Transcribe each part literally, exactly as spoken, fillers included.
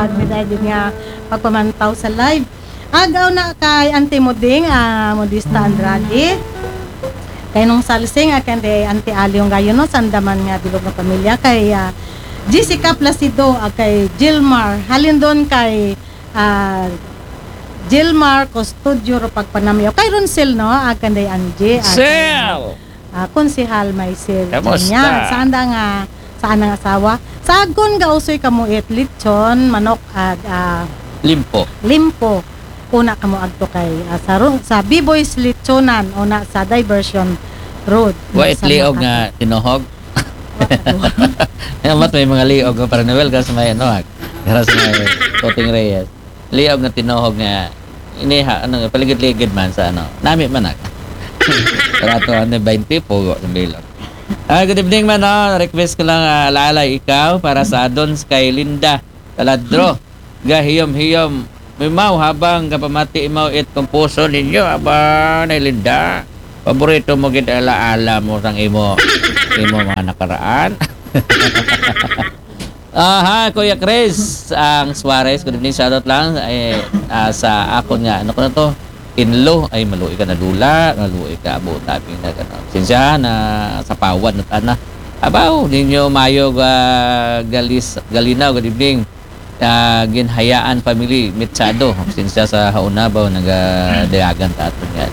Pag may dahil nga pagpamantaw sa live. Agaw na kay Auntie Muding, ah, Modista Andrade. Kay Nung Salsing, ah, kay Auntie Aliong Gayo, no, sandaman nga bilog nga pamilya. Kay, ah, Jessica Placido, ah, kay Gilmar. Halin doon kay, ah, Gilmar Custodio ro pagpanamyo. Kay Ronsel, no, ah, kay Angie, ah, kay, Sel! Ah, Konsehal Maisel Kamusta? Janya. Saan da nga, saan ang asawa? Sa agon ga usoy kamo it lechon, manok, ag, ah, Limpo. Limpo. Una kamo agto kay, ah, sa, ru- sa B-Boys Lechonan, una sa Diversion Road. Wa it Sa liog Makati. Nga tinuhog. Wa ko. Amat may mga liog nga para Noel, kasi may ano, ah, kasi may Toting Reyes. Liog nga tinuhog nga iniha, ano, paligid-ligid man sa ano. Nami man ako. Rato, ano, twenty, pugo sa bilog. Ah, good evening man, oh. Request ko lang, ah, Lalay Ikaw para sa Adons kay Linda Taladro. Gahiyom-hiyom. Mimaw habang kapamati imaw it kumpuso ninyo. Aba, na Linda. Paborito mo gid ala-ala mo sang imo, imo mga nakaraan. Aha, Kuya Chris, ang Suarez, good evening, shoutout lang. Eh, ah, sa akon nga, ano ko na to? Inlo, ay, maluoy ka na dula, maluoy ka, abo, tabi na, gano'n. Sinsya na, sa pawan, at ana. Abaw, ninyo, mayo, ga, galis, galinaw, good evening. Ah, Ginhayaan family, Mitsado. Sinsya sa hauna ba, nagadayagan ta ato nga.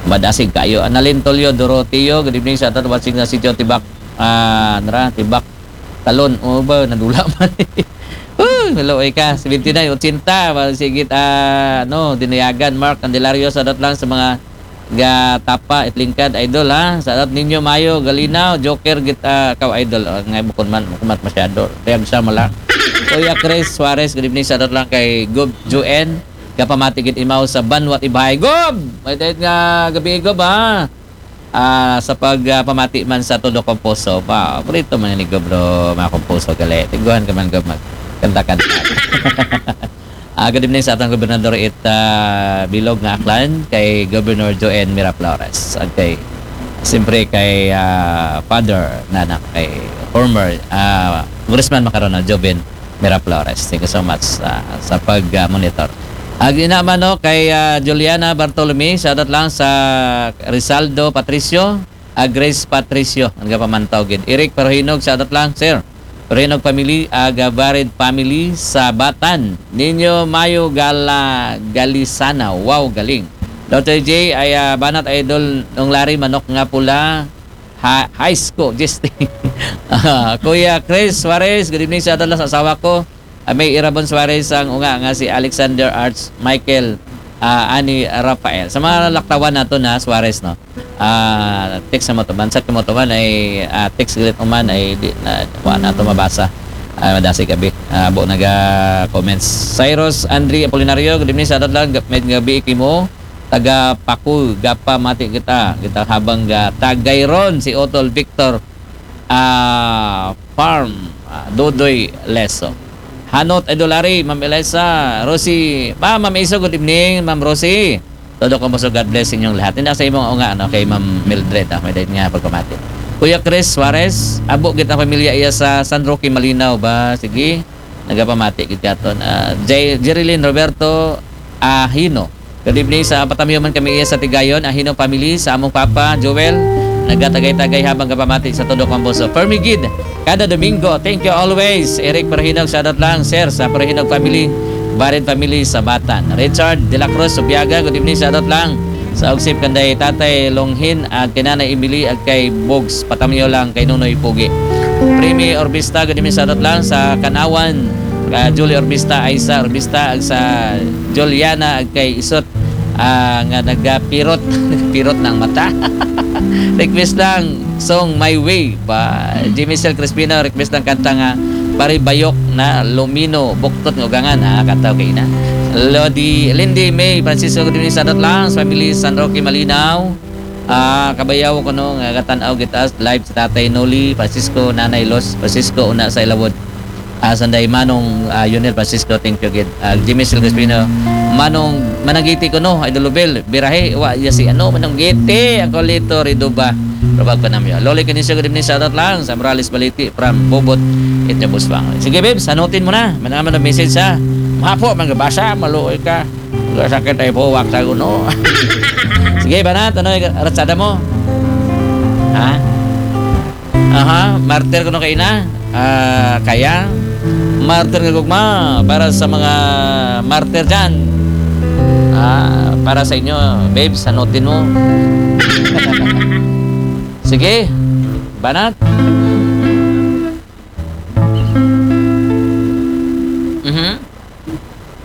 Madasig kayo. Analin Tolyo, Doroteo, good evening sa ato, watching na si John Tibak. Ah, nara, Tibak. Talon, o ba, nadula man. Uy, maluoy ka. Seventy-nine, ochenta, ba, sigit, ah, no, Dinayagan, Mark Candelario, shoutout lang sa mga ga tapa, itlingkad, idol, ha. Shoutout ninyo, mayo, galinaw, joker, git, ah, kaw, idol. Ah, ngay, bukon man, bukon man masyado. Kaya gusto mo lang. Kuya Chris Suarez, good evening, shoutout lang kay Gob Juen. Gapamati gid imaw sa Banwat Ibhay. Gob! May dahil nga gabi, Gob, ha. Ah, sa pag, ah, pamati man sa todo komposo. Pa, paborito man ni Gob, bro, mga komposo, gali. Tiguan ka man, Gob, mag kanta-kanta. Ah, good evening sa atong gobernador it, ah, bilog nga Aklan kay Governor Joen Miraflores. Ag kay, siyempre kay, ah, Father na anak kay former, ah, Congressman makaron na Joven Miraflores. Thank you so much, ah, sa pag, ah, monitor. Ag ina man, no, kay, ah, Juliana Bartolome, shoutout lang sa Rizaldo Patricio, ah, Grace Patricio, ang gapamantaw gid. Eric Perhinog, shoutout lang, sir. Perhinog family, aga Barid family sa Batan. Ninyo Mayo Gala Galisana. Wow, galing. Doctor J, ay, ah, banat idol nung Larry Manok nga pula. Ha, high school, just Ah, Kuya Chris Suarez, good evening sa ato lang sa asawa ko. Ah, May Irabon Suarez ang unga nga si Alexander Arts Michael, ah, ani Rafael. Sa mga laktawan nato na Suarez, no? Ah, text sa mo to man. Sa mo to man ay, ah, text galit mo man ay di na, wa na to mabasa. Ah, madasi gabi. Ah, abo naga comments. Cyrus Andre Apolinario, good evening sa ato lang. Gap-, may gabi kimo. Taga Paku, gapa mati kita. Kita habang ga tagay ron si Otol Victor, ah, Farm, ah, Dodoy Leso. Hanot Idol Ari, Ma'am Eliza, Rosie, Ma-, Ma'am Iso, good evening, Ma'am Rosie. Todo ko mo, so God bless inyong lahat. Hindi sa imong unga, ano, kay Ma'am Mildred, ah, may dahil nga pagpamati. Kuya Chris Suarez, abo gid ang pamilya iya sa San Roque, Malinaw ba? Sige, nagapamati gid katon. Ah, J-, Jerilyn Roberto Ahino. Good evening sa patamiyo man kami iya sa Tigayon, Ahino family, sa among papa, Joel, nagatagay-tagay habang gapamati sa todo kong buso. Permi gid, kada Domingo. Thank you always. Eric Perhinog, shoutout lang, sir, sa Perhinog family, Barid family sa Batan. Richard De La Cruz, Subiaga, good evening, shoutout lang. Sa Ugsip kanday Tatay Longhin, ag kay Nanay Emily, ag kay Bogs, patamiyo lang kay Nunoy Pugi. Primi Orbista, good evening, shoutout lang sa Kanawan, ka Julie Orbista, Aisa Orbista, ag sa Juliana, ag kay Isot, ah, nga nagapirot, nagapirot ng mata. Request lang, song My Way. Pa, Jimmy Sel Crispino, request ng kanta nga Paribayok na Lumino, Buktot nga Ugangan. Ah, kanta okay na. Lodi, Lindy May Francisco, good evening, shoutout lang sa family San Roque Malinaw. Ah, kabayaw ko no, nga gatan-aw gid ta live sa Tatay Noli Francisco, Nanay Los Francisco, una sa Ilawod. Ah, sanday Manong, ah, Yunel Francisco, thank you gid. Ah, Jimmy Silvespino, Manong Managiti ko no, Idol Lubel, birahe, wa, ya si ano, Manong Giti, ang kulito, Rido ba? Rubag panamyo. Loli Kinisio, good evening, shout out lang sa Morales Baliti from Bubot, Itnabusbang. Sige, babes, hanutin mo na. Manaman ang message sa mahapo, magabasa, maluoy ka. Masakit tayo po, wak sa guno. Sige, banat, ano yung ratsada mo? Ha? Aha, martir ko na kayo na. Ah, kaya, martir nga gugma para sa mga martir dyan. Ah, para sa inyo, babes, hanutin mo. Sige, banat.